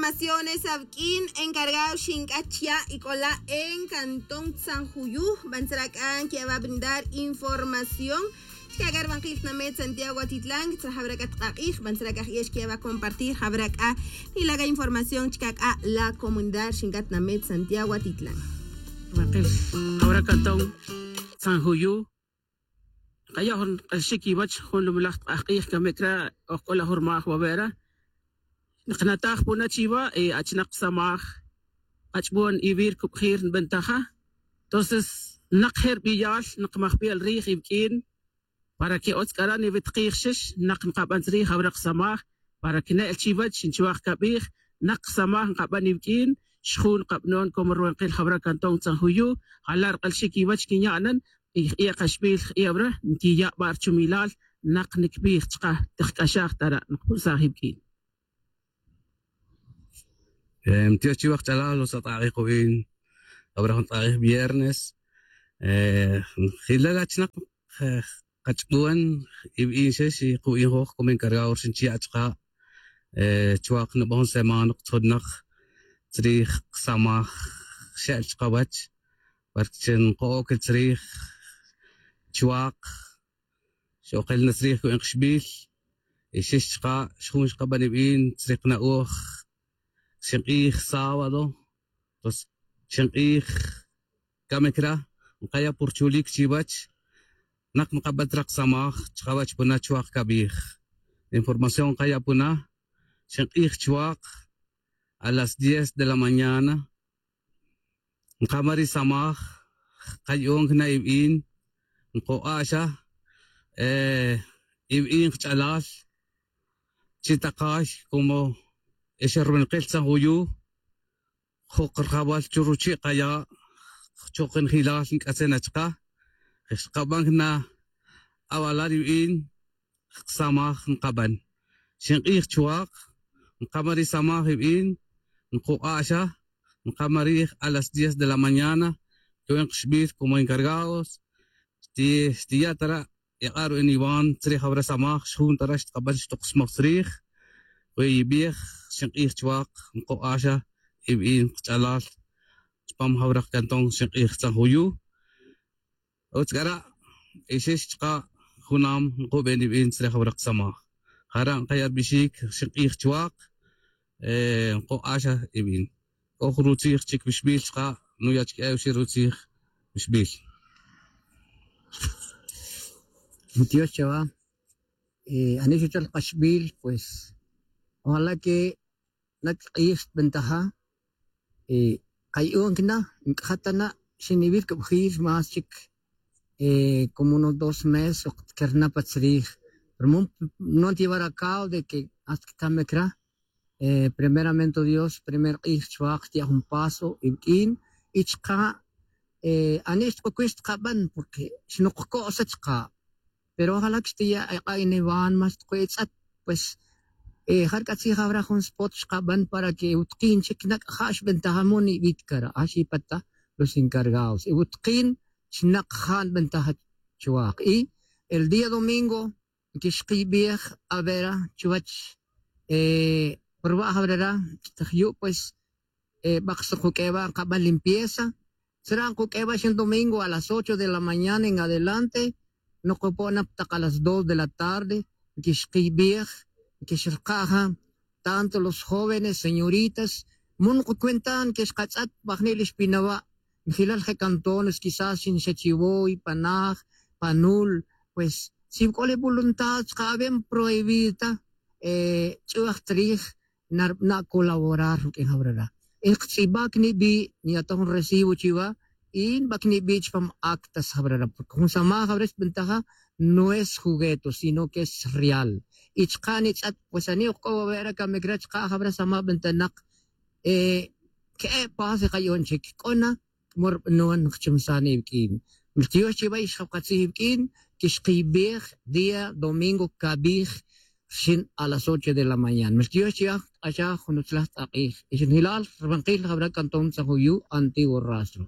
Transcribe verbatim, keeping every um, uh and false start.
Felicitaciones awq'uin encargado xinc'at chya' y c'ola' en cantón tzanjuyu. Bantzra c'a nquiya' wa brindar información chca' c'a rubankil tnamet santiago atitlan tzra jawra c'a tk'ak'ij. Bantzra c'a ji'ex quiya' wa compartir jawra c'a nila' c'a información chca' c'a la comunidad xinc'at tnamet santiago atitlan. Rubankil jawra cantón tzanjuyu. Nkaya' jun k'axik iwach jun lumalaj tk'aj k'ij camic ra. Oj c'o la jun rmaj wawe' ra. Nkanataj puna chiwa y achnak samaj ach'bon iwir cubjir nbentaja. Entonces nak je' rbiyal nkmajbel rij iwq'uin para que otz c'a ra niwitkij xix nak nkaban tzrij jawra ksamaj. Para que ne'l chiwach nchuaj cabij nak ksamaj nkaban iwq'uin. Xjun nkabanon como rubankil jawra cantón tzanjuyu. Jala' rk'alxic iwach quinya'nan y j'iya' kaxbil j'iya' wara nquiya' ba' rchumilal. Nak nicbij chka' tijc'axaj ta ra' nkpursaj iwq'uin. Mtiox chiwa kch'alal los atk'ak'ij ku'in. Abra jun tk'ak'ij viernes jilal achnak kach'bon iwq'uin xex y ku'in joj como encargado rxin chiya' chka'. Chuak nuba' jun semana kutzjun nak tzrij ksamaj xe'l chkawach. Parque chi nko'oc tzrij chuak xokil na tzrij cu'in kxbil. Y xix chka' xjun xkaban iwq'uin tzrij kna'oj xink'ij sábado. Pues xink'ij camic ra nkaya' pur chulic chiwach. Nak nkabat ra ksamaj chkawach puna chuak cabij. Información nkaya' puna xink'ij chuak a las diez de la mañana. Nkama ri samaj kaya'on cana iwq'uin. Nko'axa iwq'uin kch'alal chi takay como ixerbanakil tzanjuyu. Jok rajawal chu ruchi' kaya' chukinjilal nc'atzin achka. Xkaban cana awalal iwq'uin ksamaj nkaban. Xink'ij chuak nkama ri samaj iwq'uin. Nkok'a'xa nkama rij a las diez de la mañana. Cu'in kxbil como encargados xtiya' ta ra' ik'a' ru'in iwan tzrij awra samaj xjun ta ra' xtkaban xtoksmaj tzrij. Cu'in ibij xink'ij chuak nkok'a'xa iwq'uin kch'alal chupam jawra kcantón xink'ij tzanjuyu. Utz c'a ra' ixix chka' junam nkuben iwin tzrij awra ksamaj. Jara' nkaya' rubixic xink'ij chuak. Nkok'axa iwin c'o jun rutzij chic wixbil chka' nuya' chic e oxi' rutzij wixbil. Ntiox chawa. Ani xuchal kaxbil pues ojalá que nak k'ij xtbentaja. Kayu'un cana nc'aja ta na' xiniwil cubjil más chic como unos dos meses ok tkerna pa tzrij. Pero no ntiwar acabo de que hasta que camic ra. Primeramente dios primer k'ij chuak xtiya' jun paso iwq'uin y chka' ani' xtkucuy xtkaban porque xnukco'sa chka'. Pero ojalá que xtiya' ek'a' iniwan más xtkuy itz'at. Pues ja rc'a tzij awra jun spot xkaban para que iwutkin chic nak ja' xbentaja mo niwit cara axi pata los encargados iwutkin xnak ja' nbentaja. Chuak y el día domingo nquixkibij avera chuwech. Purba' jawrera chtaj yu' pues bak xnkuq'ue wa' nkaban limpieza. Tzra' nkuq'ue wa' xin domingo a las ocho de la mañana en adelante. Nukupo' na ptak a las dos de la tarde nquixkibij nquixrka' ja tanto los jóvenes señoritas. Mo nukucuenta nquixkatz'at bajni' li xpinawa'. Njilal je' cantones quizás xinxachiwoy panaj panul. Pues si wc'o li voluntad chka' awe' nprohibida ta ch'uj trij. Narbana' colaborar ruq'uin jawrera. Nktz'iba cnibi' nyata jun recibo chiwa y nba cnibi' chupam actas jawrera porque jun samaj jawrera xbentaja no es jugueto sino que es real. Y chka' nitz'at pues ani' ojk'o wawe' ra camic ra chka' jawra samaj bentanak. Que'e' pase kayu'un chic c'o na. Cmo rbanon nkchumsan iwq'uin. Miltiox chiwa ixjawkatzij iwq'uin. Quixkibij día domingo cabij rxin a las ocho de la mañana miltiox chiwa. K'axaj jun utzlaj tz'ak'ij ixinjilal rbankil jawra cantón tzanjuyu antiguo rastro.